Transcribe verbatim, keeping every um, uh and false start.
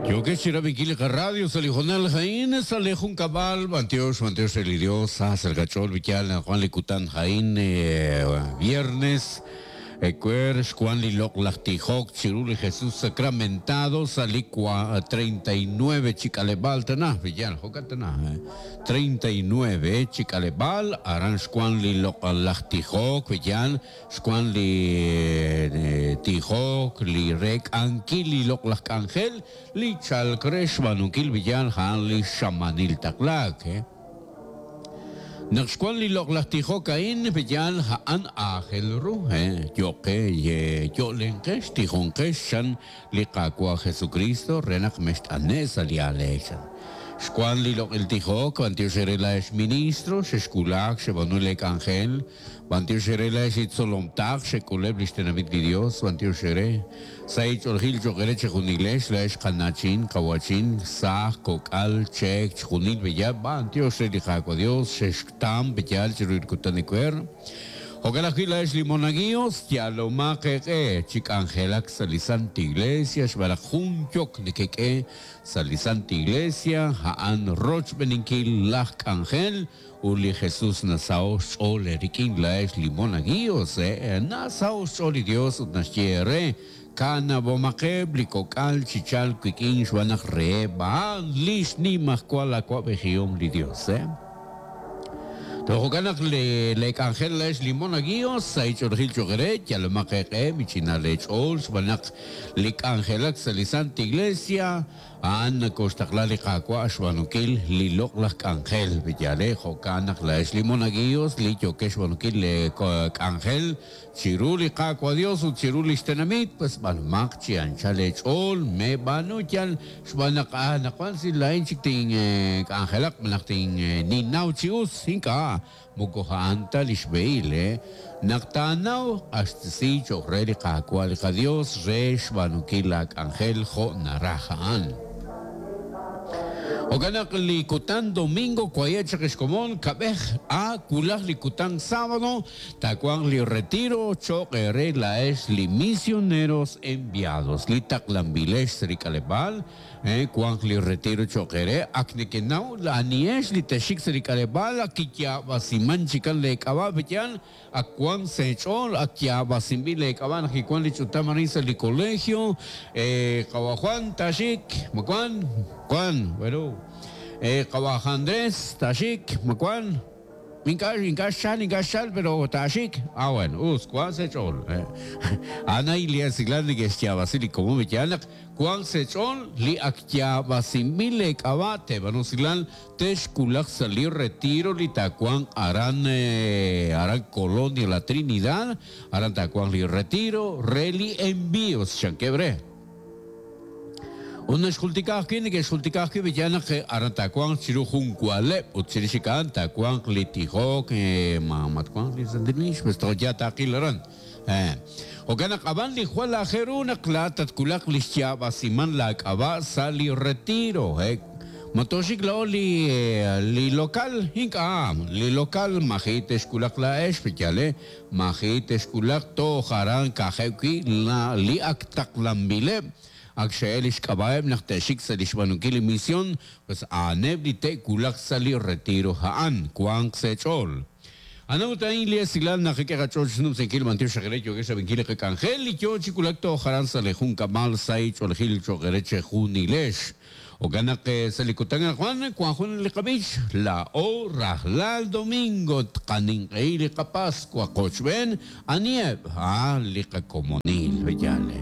Yokex chirab'inkil li qarradio sa' li hoonal a'in sa' li junkab'al b'antiox b'antiox re li Dios sa sa' qach'ool b'iyal Juan li kutan a'in viernes ecuer xwan li loq'laj tijok chiru li Jesús sacramentado sa' li treinta y nueve chik'aleb'al tana b'iyal jo'kan tana treinta y nueve chik'aleb'al aran xwan li loq'laj tijok b'iyal xwan li tijok li rek'ankil li loq'laj k'anjel li chalk re xb'aanunkil b'iyal ja'an li xamanil taqlaak eh. Naq xwan li loq'laj tijok a'in b'iyal ja'an aajel ru eh yo'qe yo'lenqex tijonqex xan li qaawa' Jesucristo re naq mext'ane' sa' li aleex. Xwan li loq'il tijok b'antiox re laex ministro xexkulaak xeb'aanu le k'anjel b'antiox re laex itzolomtaq xek'uleb' li xtenamit li Dios b'antiox re sa' ich'oljil cho'qere chejunilex laex qanachin qawachin saaj kok'al cheek chjunil b'iyal b'antiox re li qaawa' Dios xexktam b'iyal chiru li kutan ecuer. Jo'kan ajwi' laex li monaguillos yalomaq eq'e chik'anjelak sa' li Santa Iglesia xb'alaq jun yok nekek'e sa' li Santa Iglesia ja'an rochb'eninkil laj k'anjel ut li Jesús nasao xch'ool rik'in laex li monaguillos eh nasao xch'ool li Dios ut naxye re kanab'omaqeb' li kok'al chichal wik'in xb'aan re b'aan li xnimajwal awa'b'ejihom li Dios eh. Jo'kan naq le le k'anjel laex li monaguillos sa' ich'oljil cho'qere yalomaq eq'e michina lech'ool xb'aan naq li k'anjelak sa' li Santa Iglesia a'an nakoxtaqla li qaawa' xb'aanunkil li loq'laj k'anjel b'iyale jo'kan naq laex li monaguillos li yokex xb'aanunkil le k'anjel chiru li qaawa' Dios ut chiru li xtenamit pues b'anumaq chi anchal lech'ool meb'aanu yal xb'aan naq ah naqwan si lain chik tin k'anjelaq naq tin ninnaw chi us ink'a' moko ja'an ta li xb'ehil eh naq taanaw q'axtesi cho'q re li qaawa' li qaDios re xb'aanunkil la k'anjel jo' naraj a'an. Jo'kan naq li kutan domingo kwaye' chaq xkomon kab'ej a kulaj li kutan sábado tawanq li retiro cho'q re laex li misioneros enviados li taqlanb'ilex sa' li k'aleb'aal eh wanq li retiro cho'q re ak nekenaw aniex li texik sa' li k'aleb'aal ak kiyaab'asiman chikan le k'ab'a' b'iyal ak wan sech'ool ak yaab'asinb'il le k'ab'a' naq kiwan li ch'utam arin sa' li colegio eh qawa Juan taxik makuan Juan bueno eh qawa Andrés taxik makuan ink'a' ink'a' xal ink'a' xal pero taxik ah bueno us wan sech'ool eh ana ilia siglan neke'xyaab'asi li komon b'iyal naq wan sech'ool li ak yaab'asinb'il le k'ab'a' teb'anu siglan texkulaq sa' li retiro li tawanq aran eh, aran Colonia La Trinidad aran tawanq li retiro re li envíos xankebre. Una xjultikaj ki neke'xjultikaj ki b'iyal naq aran tawanq chiru jun kualeb' ut chirix a'an tawanq li tijok eh, ma matwanq li santinix pues toja taqil aran eh jo'kan naq ab'an li jwal ajeru naq la tatkulaq li xyaab'asiman la k'ab'a' sa' li retiro eh matoxik lao li li local ink'a' li local maji texkulaq laex b'iyal eh maji texkulaq toj aran kajeb' wi' la li ak taqlanb'ileb' ak xe'el li xk'ab'a'eb' naq te'xik sa' li xb'aanunkil li misión pues a'aneb' li te'kulaq sa' li retiro ja'an wanq sech'ool. Ana ut a'in li esilal naq k'e qach'ool xnumsinkil b'antiox xaqere yokex xab'inkil li qak'anjel li yo chikulak toj aran sa' li junkab'al sa' ich'oljil cho'qere chejunilex. Jo'kan naq sa' li kutan Juan wan jun li qab'ix la o rajlal domingo tqaninq'ehi li qapascua qochb'en anieb' ah li qakomonil b'iyale.